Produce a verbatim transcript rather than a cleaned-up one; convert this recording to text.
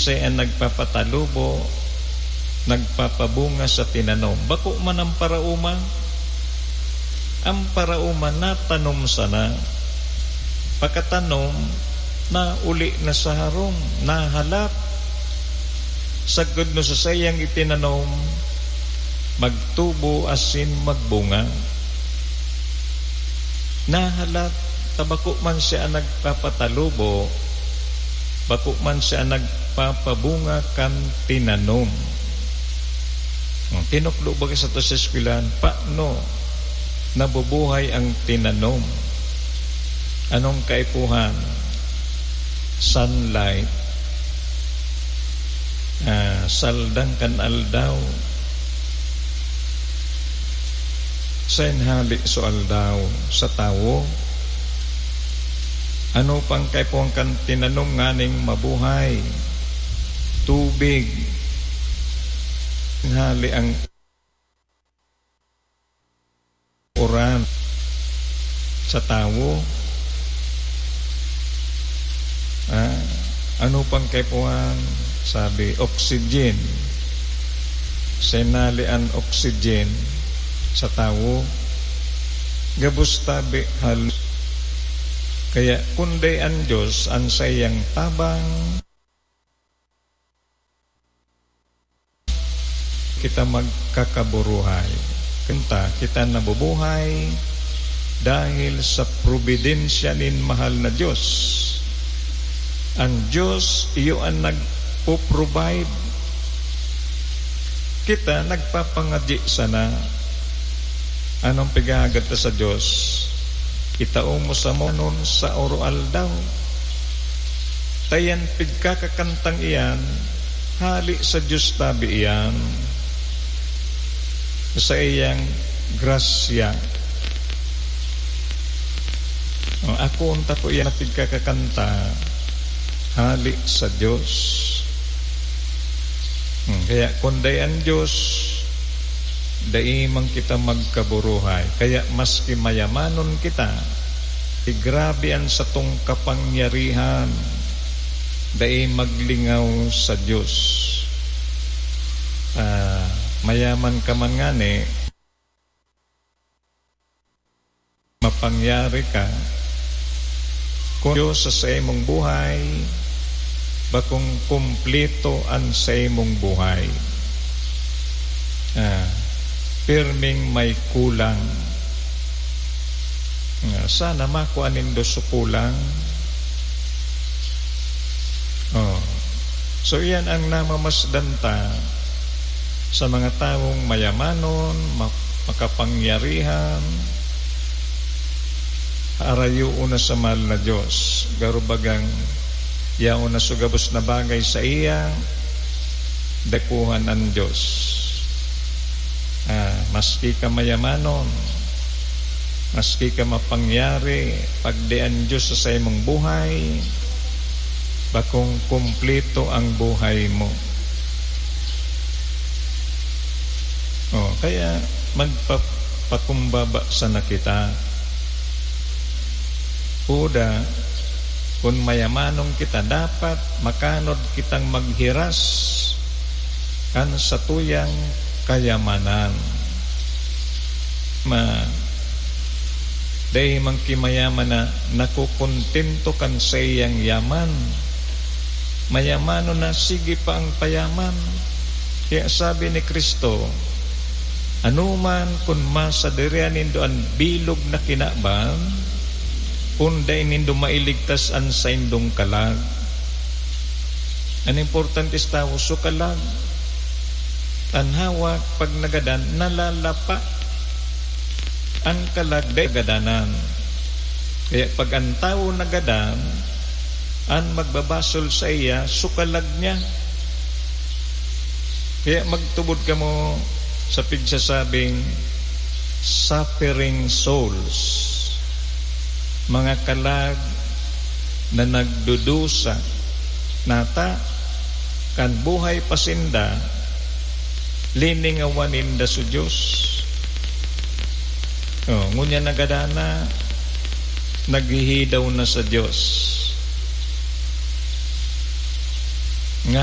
Siya an nagpapatalubo, nagpapabunga sa tinanom. Bako man ang paraoma. Ang paraoma natanom sana, pakatanom, nauli na sa harong, nahalat. Sagkod no sa saiyang itinanom, magtubo asin magbunga. Nahalat ta bako man siya an nagpapatalubo, bako man siya an nagpapabunga kan tinanom. Hmm, tinukdo ba sa to sa eskwelahan, paano nabubuhay ang tinanom? Anong kaipuhan? Sunlight. Ah, saldang kan aldaw. Saen hali so aldaw sa tawo? Ano pang kaipuhan kan tinanom nganing mabuhay? Tubig. Saen hali ang uran sa tawo? Ah, ano pang kaipuhan? Sabi, oxygen. Saen hali an oxygen sa tawo? Gabos tabi hal-, kaya kun dai an Dios an saiyang tabang, kita magkakaburuhay. Kanta, kita nabubuhay dahil sa probidensya nin mahal na Dios. Ang Dios, iyo an nagpo-provide. Kita nagpapangadyi sana. Anong pighahagad ta sa Dios? Itao mo sa monon sa oro-aldaw. Ta iyan pigkakakantang iyan, hali sa Dios tabi iyan, sa iyang grasya. O, ako unta ko iyan na pigkakakanta, hali sa Dios. Hmm, kaya kun dai an Dios, dai man kita magkaburuhay. Kaya maski mayamanon kita, ti grabe an satong kapangyarihan, dai maglingaw sa Dios. Ah, mayaman ka man ngani, mapangyari ka, kun Dios sa saimong buhay, bakong kumpleto an saimong buhay. Ah, pirming may kulang. Ah, sana makua nindo so kulang. Oh. So, iyan ang namamasdan ta sa mga tawong mayamanon, ma-, makapangyarihan, arayoon na sa mahal na Dios. Garo bagang yaon na so gabos na bagay saiya, dakuhan an Dios. Ah, maski ka mayamanon, maski ka mapangyari, pag di an Dios sa saimong buhay, bakong kumpleto ang buhay mo. Oh, kaya magpa-, pakumbaba sana kita. Uda, kun mayamanon kita, dapat makanod kitang maghiras kan satuyang kayamanan. Ma-, dai man ki mayaman na nakokontento kan saiyang yaman. Mayamanon na, sige pa ang payaman. Kaya sabi ni Cristo, "Anoman kun masadirian nindo an bilog na kinaban, kun dai nindo mailigtas an saindong kalag." An importante sa tawo, so kalag. An hawak, pag nagadan, nalalapa. An kalag, dai gadanan. Kaya pag an tawo nagadan, an magbabasol saiya, so kalag niya. Kaya magtubod kamo sa pigsasabing suffering souls, mga kalag na nagdudusa. Nata, kan buhay pa sinda, liningawan ninda so Dios. Oh, ngunyan nagadan na, naghihidaw na sa Dios. Nga